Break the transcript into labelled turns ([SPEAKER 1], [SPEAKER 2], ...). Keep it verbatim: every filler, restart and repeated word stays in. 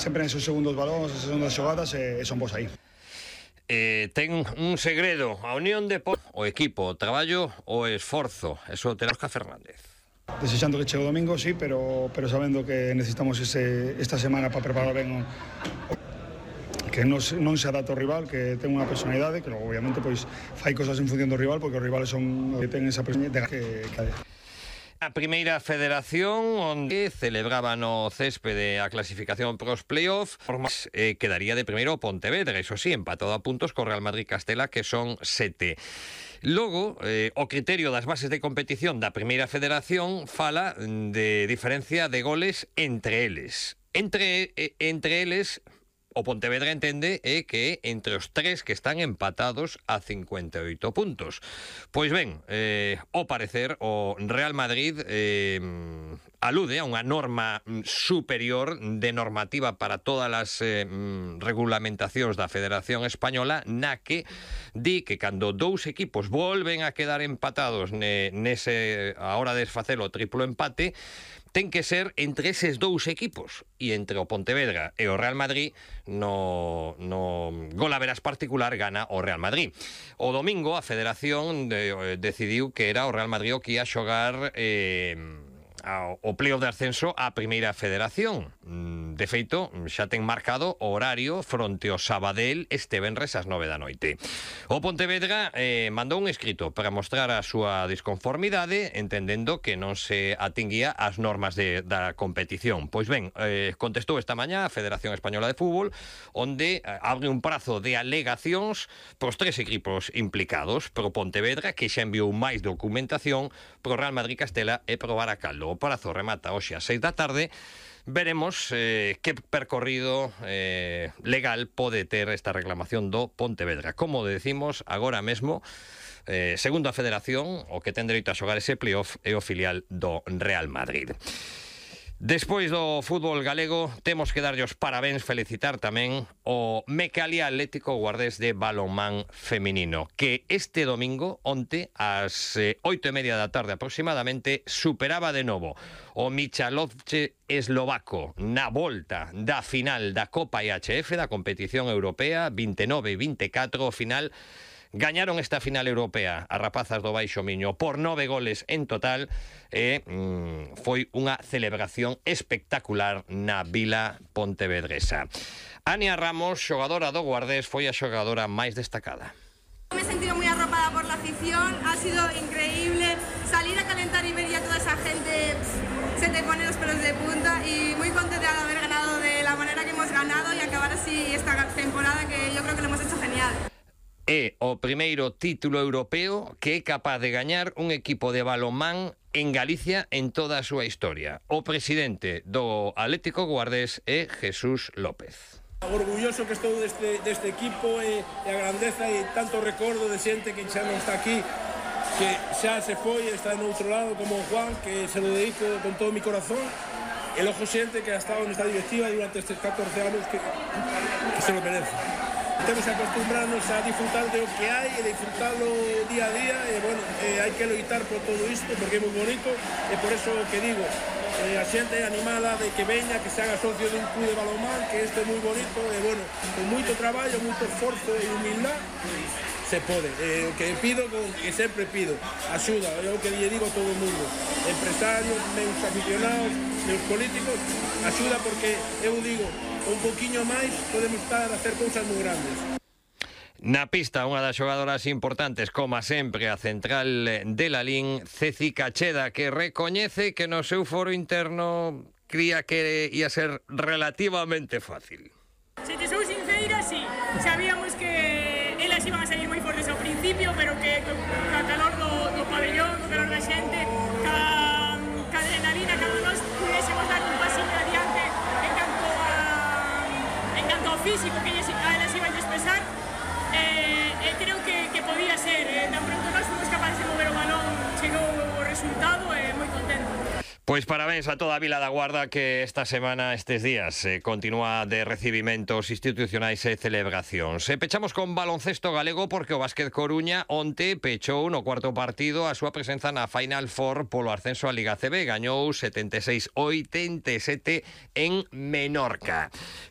[SPEAKER 1] sempre nesos segundos balóns, esas segundas xogadas, e, e son vos aí.
[SPEAKER 2] Eh, ten un segredo, a unión de po o equipo, o traballo, o esforzo. Eso terá Óscar Fernández.
[SPEAKER 1] Desexando que chegue o domingo, sí, pero, pero sabendo que necesitamos ese, esta semana para preparar ben o, que non se, non se adapta ao rival, que ten unha personalidade, que logo obviamente pois fai cosas en función do rival, porque os rivales son que ten esa personalidade que, que
[SPEAKER 2] A primeira federación onde celebraba no céspede a clasificación pros playoff, eh, quedaría de primeiro o Pontevedra, iso sí, empatado a puntos co Real Madrid Castela, que son sete. Logo, eh, o criterio das bases de competición da primeira federación fala de diferencia de goles entre eles. Entre, eh, entre eles... O Pontevedra entende é que entre os tres que están empatados a cincuenta e oito puntos. Pois ben, eh, ao parecer, o Real Madrid eh, alude a unha norma superior de normativa para todas as eh, regulamentacións da Federación Española, na que di que cando dous equipos volven a quedar empatados ne, nese, a hora de facer o triplo empate, ten que ser entre eses dous equipos, e entre o Pontevedra e o Real Madrid no, no golaveras particular gana o Real Madrid. O domingo a Federación de, decidiu que era o Real Madrid o que ia xogar eh, ao, o playoff de ascenso á primeira federación. De feito, xa ten marcado o horario fronte ao Sabadell este venres ás nove da noite. O Pontevedra eh, mandou un escrito para mostrar a súa disconformidade, entendendo que non se atinguía ás normas de, da competición. Pois ben, eh, contestou esta mañá a Federación Española de Fútbol, onde eh, abre un prazo de alegacións pros tres equipos implicados, pro Pontevedra, que xa enviou máis documentación, pro Real Madrid Castela e pro Baracaldo. O prazo remata hoxe ás seis da tarde. Veremos eh, que percorrido eh, legal pode ter esta reclamación do Pontevedra. Como decimos, agora mesmo, eh, segundo a Federación, o que ten dereito a xogar ese playoff é o filial do Real Madrid. Despois do fútbol galego, temos que darlle os parabéns, felicitar tamén o Mecalia Atlético Guardés de balonmán feminino, que este domingo, onte, ás eh, oito e media da tarde aproximadamente, superaba de novo o Michalovce eslovaco na volta da final da Copa I H F, da competición europea, vinte e nove e vinte e catro, o final. Gañaron esta final europea as rapazas do Baixo Miño por nove goles en total e mm, foi unha celebración espectacular na vila pontevedresa. Ania Ramos, xogadora do Guardés, foi a xogadora máis destacada.
[SPEAKER 3] Me he sentido muy arropada por la afición, ha sido increíble salir a calentar y ver ya toda esa gente, se te pone los pelos de punta y muy contenta de haber ganado de la manera que hemos ganado y acabar así esta temporada que yo creo que lo hemos hecho genial.
[SPEAKER 2] É o primeiro título europeo que é capaz de gañar un equipo de balonmán en Galicia en toda a súa historia. O presidente do Atlético Guardés é Jesús López.
[SPEAKER 4] Orgulloso que estou deste, deste equipo e, e a grandeza e tanto recordo de xente que xa non está aquí, que xa se foi, está no outro lado, como Juan, que se lo dedico con todo mi corazón, e logo xente que ha estado nesta directiva durante estes catorce anos que, que se lo merece. Temos que acostumbrarnos a disfrutar de o que hai e disfrutarlo día a día e, bueno, eh, hai que loitar por todo isto porque é moi bonito e por eso que digo, eh, a xente animada de que veña, que se haga socio de un club de balonmán, que isto é moi bonito e, bueno, con moito traballo, moito esforzo e humildade se pode. Eh, o que pido, que sempre pido, axuda, é o que lle digo a todo o mundo, empresarios, meus aficionados, meus políticos, axuda porque eu digo, un poquinho máis podemos estar a hacer cousas moi grandes.
[SPEAKER 2] Na pista, unha das xogadoras importantes, como sempre, a central de Lalín, Ceci Cacheda, que recoñece que no seu foro interno cría que ia ser relativamente fácil.
[SPEAKER 5] Se te sou sinceira, sí. Sabíamos que elas iban a salir moi fortes ao principio, pero que ca calor do, do pabellón, co calor da xente, ca, ca adrenalina, cada nós pudésemos dar un pasiño adiante en canto a, en canto ao físico que a elas iban a expresar, eh, eh, creo que, que podía ser. Eh, tan pronto nós fomos capaces de mover o balón, chegou o resultado e eh, moi contento.
[SPEAKER 2] Pois parabéns a toda a Vila da Guarda que esta semana, estes días, eh, continúa de recibimentos institucionais e celebracións. E pechamos con baloncesto galego porque o Básquet Coruña onte pechou no cuarto partido a súa presenza na Final Four polo ascenso a Liga A C B. Gañou setenta e seis a oitenta e sete en Menorca.